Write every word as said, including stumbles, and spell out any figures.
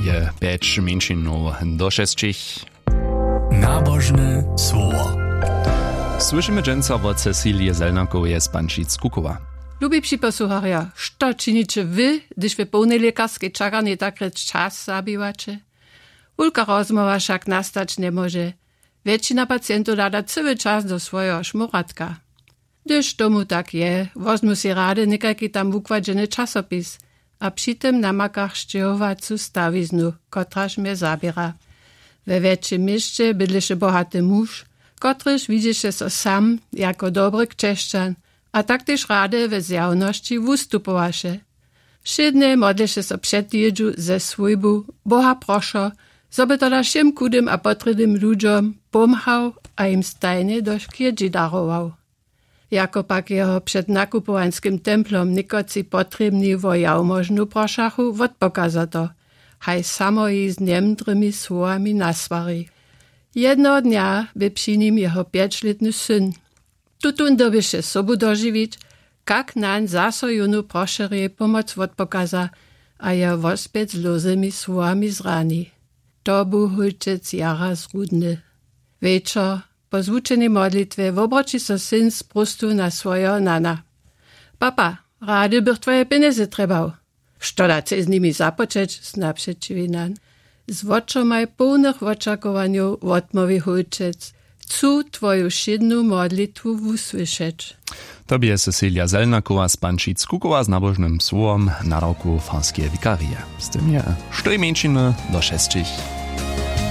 Je pjeć mjeńšinow do šesćich. Nabožne słowo. Słyšimy dźensa wot Cecilije Zelnakoweje z Pančic Kukowa. Lubi připosłucharjo, što činiće wy, hdyž w połnej lěkarskej čakarni tak rěč čas zabiwaće? Wulka rozmołwa wšak nastać njemóže. Wjetšina pacientow hlada cyły čas do swojeho šmóratka. Hdyž tomu tak je, wozmu sej rady někajki tam wukładźeny časopis a při tym namaka sćěhowacu stawiznu, kotraž mje zaběra. We wjetšim měsće bydleše bohaty muž, kotryž widźeše so sam jako dobry křesćan a tak tež rady we zjawnosći wustupowaše. Wšědnje modleše so před jědźu ze swójbu: Boha prošo, zo by tola wšěm chudym a potrěbnym ludźom pomhał a jim stajnje do škědźi darował. Jako pak jeho před nakupowańskim templom někotři potrěbni wo jałmožnu prošachu, wotpokaza to, haj samo jich z njemdrymi słowami naswari. Jednoho dnja bě při nim jeho pječlětny syn. Tutón dyrbješe sobu dožiwić, kak nań zaso jónu prošerjej pomoc wotpokaza a jeho wospjet z lózymi słowami zrani. To bu hólčec jara zrudny. Wječor, po zwučenej modlitwje wobroći so syn z próstwu na swojeho nana: Papa, rady bych twoje pjenjezy trjebał. Što da chceš z nimi započeć? Sna přećiwi nan. Z wočomaj połnych wočakowanjow wotmołwi hólčec: Chcu twoju wšědnu modlitwu wusłyšeć. To bě Cecilia Zelnakowa z Pančic Kukowa z nabožnym słowom na roku farskeje wikarije. Z tym je štyrmjeńšiny do šesćich.